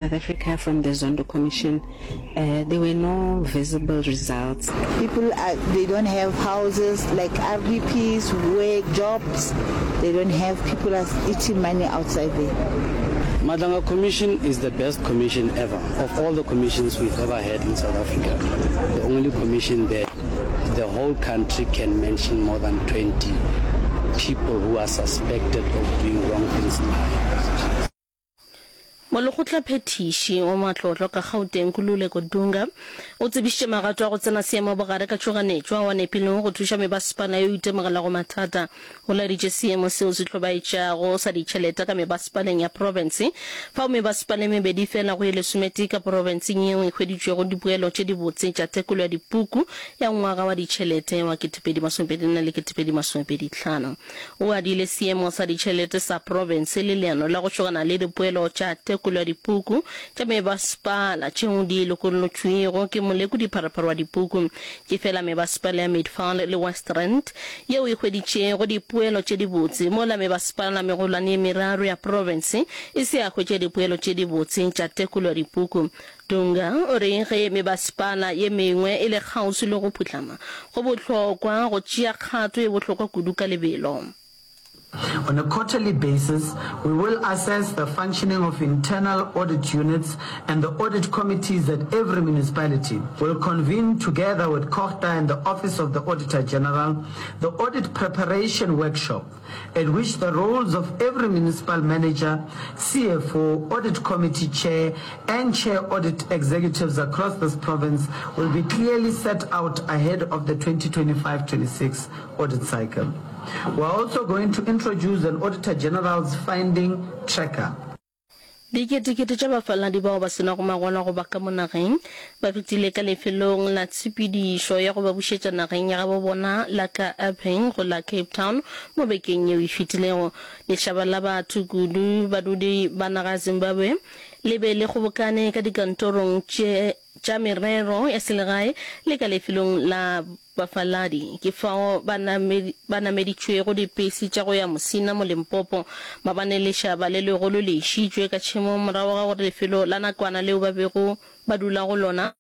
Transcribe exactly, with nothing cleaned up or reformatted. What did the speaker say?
South Africa from the Zondo Commission, uh, there were no visible results. People are, they don't have houses like R D Ps, work, jobs. They don't have, people are eating money outside there. Madlanga Commission is the best commission ever of all the commissions we've ever had in South Africa. The only commission that the whole country can mention more than twenty people who are suspected of doing wrong things in high positions. Molekgotlaphethiši wa matlotlo ka Gauteng, Nkululeko Dunga, o tsebišitše magato a go tsena seemo bogare ka tšhoganetšo ao a nepilego go thuša mebasepala yeo e itemogelago mathata. O laeditše seemo seo se hlobaetšago sa ditšhelete ka mebasepaleng ya profense, fao mebasepala e mebedi fela go ye lesometee ka profenseng yeo e hweditšwego dipoelo tše dibotse tša tekolo ya dipuku ya ngwaga wa ditšhelete wa ketepedi masomepedi nne le ketepedi masomepedi hlano. O adile seemo sa ditšhelete sa profense le leano la go šogana le dipoelo tša tekolo ya dipuku tša mebasepala tšeo di lokollotšwego ke molekodi-pharephare wa dipuku. Ke fela mebasepala ya Midvaal le West Rand yeo e hweditšego dipoelo tše dibotse, mola mebasepala megolwane ye meraro ya profense e se ya hwetša dipoelo tše dibotse tša tekolo ya dipuku. Dunga o re ge mebasepala ye mengwe e le kgauswi le go phuhlama, go bohlokwa go tšea kgato ye bohlokwa kudu ka lebelo. On a quarterly basis, we will assess the functioning of internal audit units and the audit committees at every municipality. We'll convene together with COGTA and the Office of the Auditor General the audit preparation workshop, at which the roles of every municipal manager, C F O, audit committee chair, and chair audit executives across this province will be clearly set out ahead of the twenty twenty-five twenty-six audit cycle. We're also going to introduce an Auditor General's finding tracker. Diketekete tša bafaladi bao ba se nago mangwalo a go ba ka mo nageng ba fetile ka lefelong la tshepedišo ya go ba bušetša nageng ya gabo bona la ka Epping go la Cape Town mo bekeng yeo e fetilego. Lešaba la batho, kudu badudi ba naga ya Zimbabwe, le be le kgobokane ka dikantorong tše tša merero ya selegae le ka lefelong la bafaladi. Ke fao ba ba nameditšwego dipese tša go ya Musina mo Limpopo. Mabane lešaba le legolo le išitšwe ka tšhemong morago ga gore lefelo la nakwana leo ba bego ba dula go lona